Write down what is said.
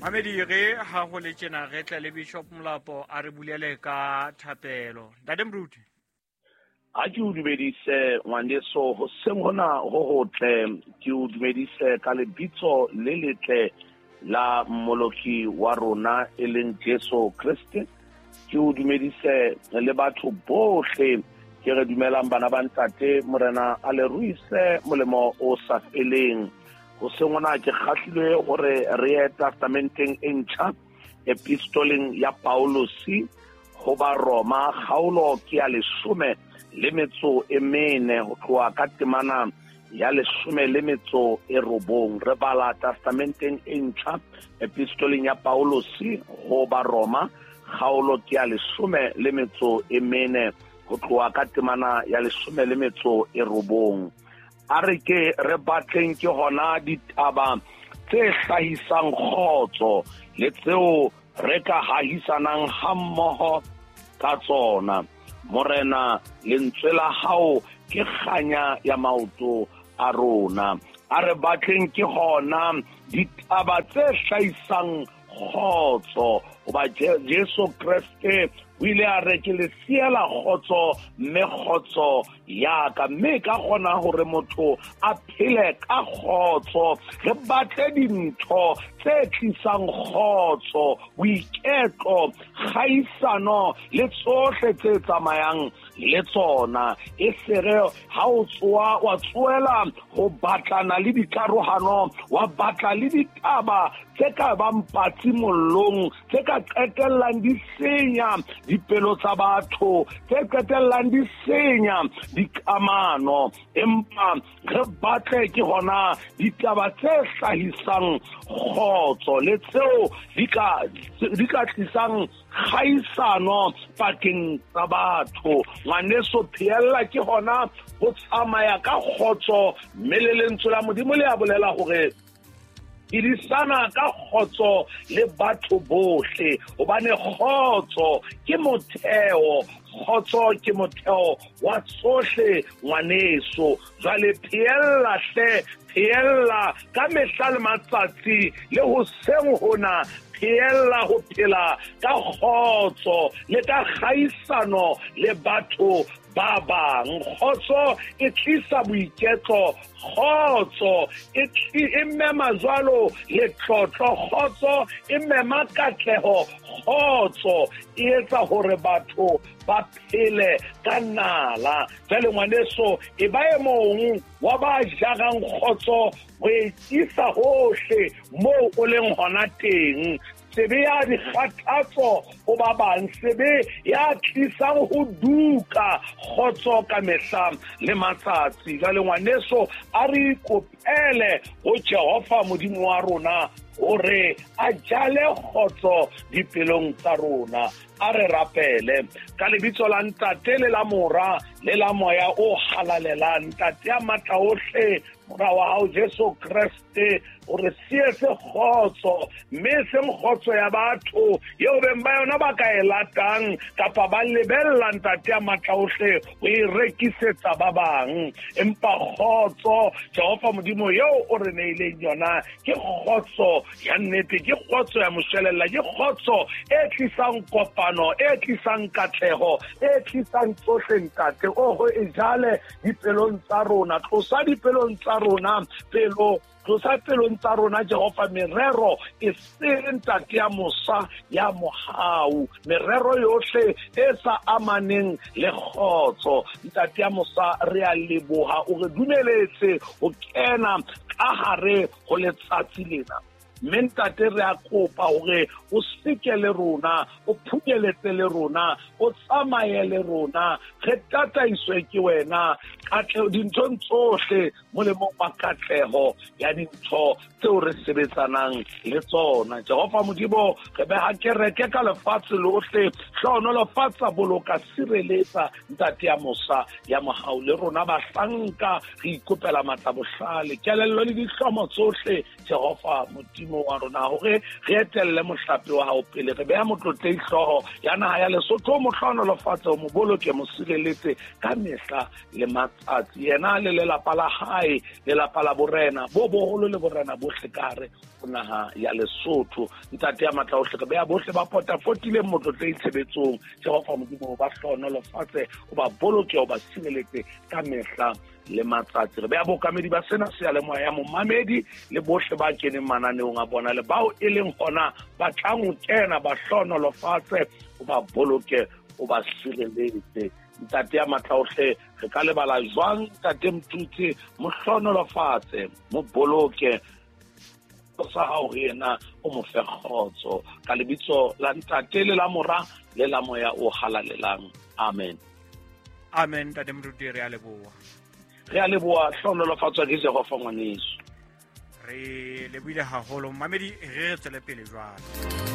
Mamedi re ha go le tjena re tle le Bishop Molapo a re bulele ka thapelo. Ntate Moruti. A ke o dumedise ngwaneso hoseng hona ho hotle, ke o dumedise ka lebitso le letle la mmoloki wa rona e leng Jesu Kriste. Ke o dumedise le batho bohle ke re dumelang bana ba ntate, Morena a le ruise molemo o sa feleng. Hoseng hona ke kgahlilwe hore re ye testamenteng e ntjha, epistoleng ya Paulosi ho ba Roma, kgaolo ke ya 14 ho tloha ka temana ya 19. Re bala testamenteng e ntjha, epistoleng ya Paulosi ho ba Roma, kgaolo ke ya 14 ho tloha ka temana ya 19. A re ke re batleng ke hona ditaba tse hlahisang kgotso le tseo re ka hahisanang hammoho ka tsona. Morena, lentswe la hao ke kganya ya maoto a rona. A re batleng ke hona ditaba tse hlahisang kgotso, hoba Jesu Kreste o ile a re ke le siela kgotso, mme kgotso ya ka, mme ka kgona hore motho a phele ka kgotso. Re batle dintho tse tlisang kgotso, boiketlo, kgaisano le tsohle tse tsamayang le tsona. E sere ha o tsoa wa tsoela ho batlana le dikarohano, wa batla le ditaba tse ka bang patsi mollong, tse ka qetellang di senya dipelo tsa batho, tse qetellang di senya dikamano. Empa re batle ke hona ditaba tse hlahisang kgotso le tseo di ka tlisang kgaisano pakeng tsa batho. Ngwaneso, phehella ke hona ho tsamaya ka kgotso, mme le lentswe la Modimo le a bolela hore phedisana ka kgotso le batho bohle, hobane kgotso ke motheo, kgotso ke motheo wa tsohle ngwaneso. Jwale phehella hle, phehella ka mehla le matsatsi le hoseng hona, phehella ho phela ka kgotso le ka kgaisano le batho ba bang. Kgotso e tlisa boiketlo, kgotso e mema jwalo letlotlo, kgotso e mema katleho, kgotso e etsa hore batho ba phele ka nala. Jwale ngwaneso, e ba e mong wa ba jarang kgotso ho e isa hohle moo o leng hona teng. Sebe ya dikgathatso ho ba bang, sebe ya tlisang ho duka kgotso ka mehla le matsatsi. Jwale ngwaneso, a re ikopele ho Jehova Modimo wa rona hore a jale kgotso dipelong tsa rona. A re rapele ka lebitso la Ntate le la Mora le la Moya o halalelang. Ntate ya matla ohle, Mora wa hao Jesu Kreste, o re sietse kgotso, mme e seng kgotso ya batho eo beng ba yona ba ka e latang kapa ba lebella Ntate ya matla ohle ho e rekisetsa ba bang, empa kgotso Jehova Modimo eo o re neileng yona ke kgotso ya nnete, ke kgotso ya moshwelella, ke kgotso e tlisang kopano, e tlisang katleho, e tlisang tsohle. Ntate, oho e jale dipelong tsa rona, tlosa dipelong tsa rona pelo, tlosa pelong tsa rona Jehova merero e sele, Ntate ya mosa ya mohau, merero yohle e sa amaneng le kgotso. Ntate ya mosa, re a leboha o re dumeletse ho kena ka hare ho letsatsi lena. Mme ntate, re a kopa hore o seke le rona, o phunyeletse le rona, o tsamaye le rona, re tataiswe ke wena katleho dinthong tsohle, molemong wa katleho ya dintho tseo re sebetsanang le tsona. Jehova Modimo, re beha kereke ka lefatshe lohle, hlohonolofatsa, boloka, sireletsa, Ntate ya mosa ya mohau. Le rona bahlanka re ikopela matla, bohlale, kelello le dihlomo tsohle, Jehova Modimo. Modimo wa rona, hore re etelle mohlape wa hao pele. Re beha motlotlehi hlooho ya naha ya Lesotho, mo hlohonolofatse, o mo boloke, mo sireletse ka mehla le matsatsi, yena le lelapa la hae, lelapa la borena bo boholo le borena bohle ka hare ho naha ya Lesotho. Ntate ya matla ohle, re beha bohle ba potapotileng motlotlehi tshebetsong. Jehova Modimo, o ba hlohonolofatse, o ba boloke, o ba sireletse ka mehla le matsatsi. Re beha bookamedi ba sena seyalemoya ya momamedi le bohle ba keneng mananeong a bona le bao e leng hona ba tlang ho kena, ba hlohonolofatse, o ba boloke, o ba sireletse. Ntate ya matla ohle, re ka lebala jwang Ntate Mthutse? Mo hlohonolofatse, mo boloke sa hao ho yena, o mo fe kgotso. Ka lebitso la Ntate le la Mora le la Moya o Halalelang, amen. Amen. Ntate Moruti, re a leboha. Re a leboha, hlohonolofatswa ke Jehova ngwaneso. Re lebohile haholo, mamedi. Re tswele pele jwale.